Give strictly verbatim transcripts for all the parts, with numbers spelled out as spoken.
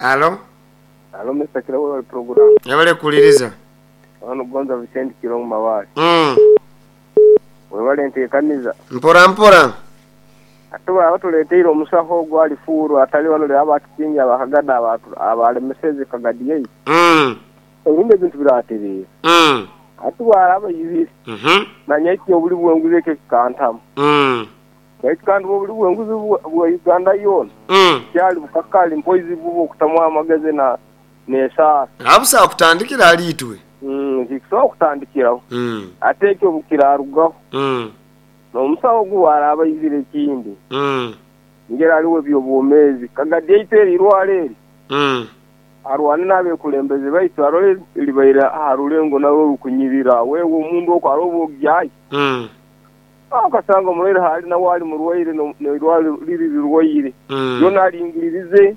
Alo. Alo Mister Kirabo wa program. Yabale kuliriza. Wano Gonza Vicente Kirongo Mawali. Mm. Webale nteekaniza. Mpora mpora. Ate baba tuleteire omusaho ogwali fuuru atali wano lero abakitingi abakagada abalemeseze kagadi yaitu. Mm. Ebindi ebintu biratereera. Mm. Ate bwaraba ibiri. Mhm. Manya eki obuli bwenguzi ekyo kikantamu. Mm. Baitu kandi obuli bwenguzi bwa Uganda yoona. Mm. Kyali bukakali mpoizi buba okutamu amagezi na n'esaara. Abusa kutandikira aliitwe. Mm, kikusobola kutandikiraho. Mm. Ate ekyo bukirarugaho. Mm. N'omusawo ogu bwaraba aizire ekindi. Mm. Ngeri aliwo ebyobwomeezi. Kagadi yaitu eri irwaro eri. Mm. Arwane n'abekulembeze baitu arole libaire aha rulengo narwo rukunyirira. Wewe omundu okwo aroba ogyayo. Mm. Okasanga omurwaire hali nawe ali murwaire n'eirwaro riri rirwaire. Mm. Yona aringiririze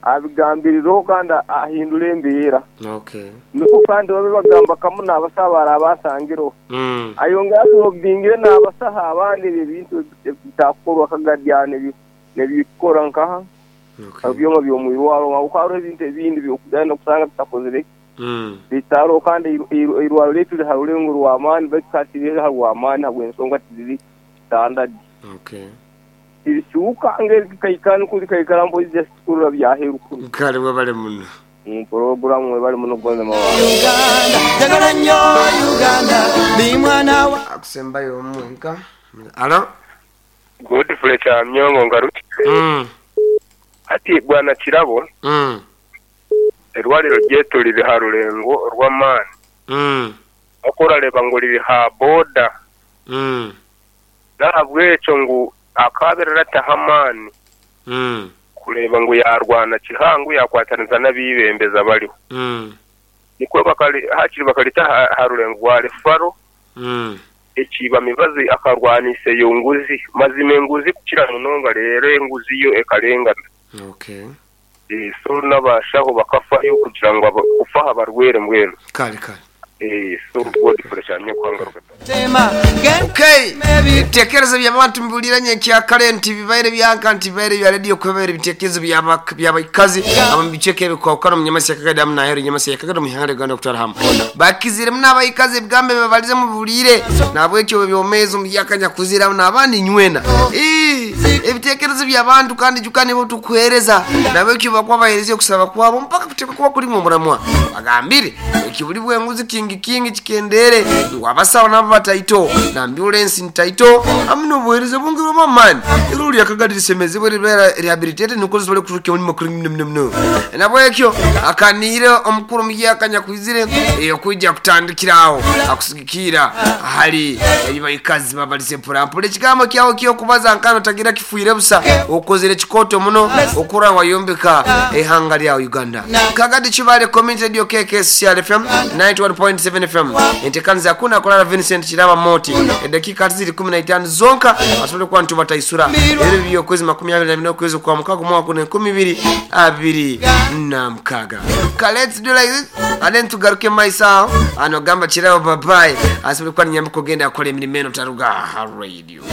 abigambirireho kandi ahindura embeera. Okay. Niko kandi babe bagamba kamu n'abasaho abasangireho. Mm. Ayongera atulobingire n'abasaho abandi ebyo ebintu bitakukorwa kagadyana nebikora nkaha. Okay. Ebyoma by'omwirwaro kuko hariho ebintu ebindi byokugenda kusanga bitakozire. Mm. Bitaro kandi irwaro lyaitu riri ha rulengo rw'amaani baitu katiri ha rw'amaani habw'ensonga tiziri standard. Okay. Tirikyuka ngeri kikaikana kuri kaikara mpozi just kurura byaheru kuri. Kale webale muno. Mu program webale muno Gonza Mawali. Uganda, njagala nnyo Uganda, ndi mwana wa Akusembayo omwenka. Alo. Godfrey Kyamyongo ngaruki. Mm. Ati bwana Kirabo. Mm. Erwaliro ryetu riri ha rulengo rw'amaani. Mm. Okurareba ngu riri ha boda. Mm. Nahabwekyo ngu akaberera ataha amaani. Mm. Kureba ngu yarwana kihangu yakwataniza n'abibembeza bariho. Mm. Nikwo bakali hakiri bakalita ha rulengo rwa Refaro. Mm. Ekiba mibazi akarwanisa eyo nguzi mazima enguzi kukira munonga rero enguzi yo ekarengana. Okay. Eh, so n'abashaho bakafayo kugira ngu kufaha barwere mbwenu. Kale kale. Eh, so Godfrey Kyamyongo. Tema. Okay. Ebitekerezo by'abantu mbuliranye ekyakale nti bibaire byanka nti bibaire bya radio kwebaire ebitekerezo by'abaikazi abamubiceka ebikwawukana mu nyamasi ya Kagadi amu naheru nyamasi ya Kagadi mu ihanga Uganda okutwara hamwe bakiziremu n'abaikazi ebigambo ebibabalize mubulire nabwekyo byomeezi omubyakanya kuziramu n'abandi nywena. Ebitekerezo by'abantu kandi juka nibo tukuhereza nabwekyo bakuba bahereza okusaba kwabo mpaka kuteeka kuba kulimu omuramwa bagambire ekibuli bwenguzi kingi kingi kikendere ngu abasawo nabo bataito na ambulance ntaito amuno obuhereza bungi bw'amaani iruli Akagadi lisemezebwe ribeera rehabilitated niko zisobole kuturuka omulimo kuri muno muno muno nabwekyo akaniire omukuru omuhyakanya kwizire okwijja kutandikirawo akusigikira ahali ebibaikazi babalize mporampora ekigambo kyawo kyokubaza nkano tagira kifuire busa okozere kikoto muno okura wayombeka ehanga lya Uganda. Kagadi Kibale Community Radio K K S C R F M ninety-one point seven F M entekaniza kuna kolala Vincent Kiraba Moti edakika ziri kumi na itaano zonka asobole kuba ntu bataisura ebiro by'okwezi makumi abiri na bina okwezi kwa mukaga omwaka guno enkumi ibiri abiri na mukaga. Ka let's do like this and then tugaruke maiso aho ano gamba Kiraba bye bye asobole kuba ninyamba kugenda akola emirimu eno taruga ha radio.